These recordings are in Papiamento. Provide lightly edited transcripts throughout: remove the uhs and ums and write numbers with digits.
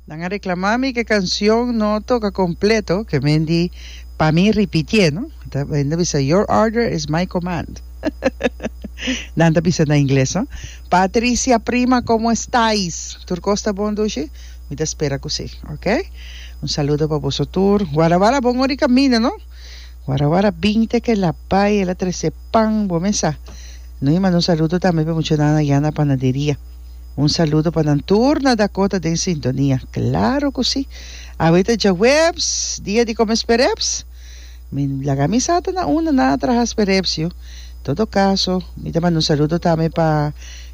Nan a reclama mi ke cancion no toca completo ke men di pa mi ripitié no ta men ta bisa your order is my command nan ta bisa na ingles no Patricia prima como estais tur cos ta bon dushi mi ta spera cu si ok un saludo pa boso tur Guarawara bon ora di camina no Guarawara binte ke la bay el a trece pan bo mesa no y manda un saludo tambe pa muchanan allá na panaderia. Un saludo pa nan tur na Dakota den sintonia. Claro cu si. Awe ta djaweps, dia di come spereps. Mi laga mi sa ta na unda nan a traha spereps yu. Todo caso, mi ta manda un saludo tambe pa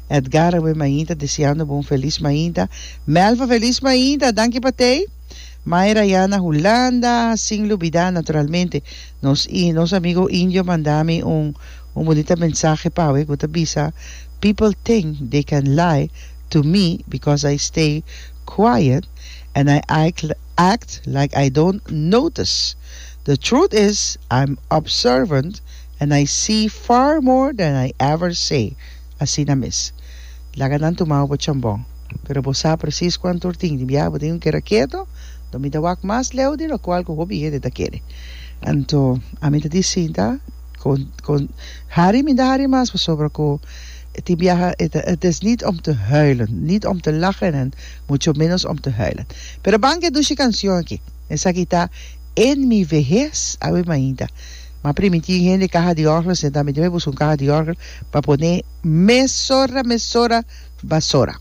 Edgar awe mainta deseando bo un feliz mainta. Melva feliz mainta, danki pa tey. Mayra ya na Hulanda, sin lubida naturalmente nos nos amigo Indio manda mi un un bunita mensahe pa awe cu ta bisa People think they can lie to me because I stay quiet and I act like I don't notice. The truth is I'm observant and I see far more than I ever say. Asina mes. Laga nan tuma bo pa chambon. Pero bo sa precies cuanto or tin. Di biaha bo tin un keda keto, lo mi ta wak mas leu di locual cu hopi hende ta kere. Anto ami ta di sinta. Con con hari mi ta hari mas pasobra cu tin biaha e ta het is niet om te huilen, niet om te lachen en mucho menos om te huilen. Pero ban ke dushi cancion aki. Esaki ta En mi vehez awe mainta. M'a primiti un hende caha di orgel senta mi debe busca un caha di orgel pa pone mesora mesora basora.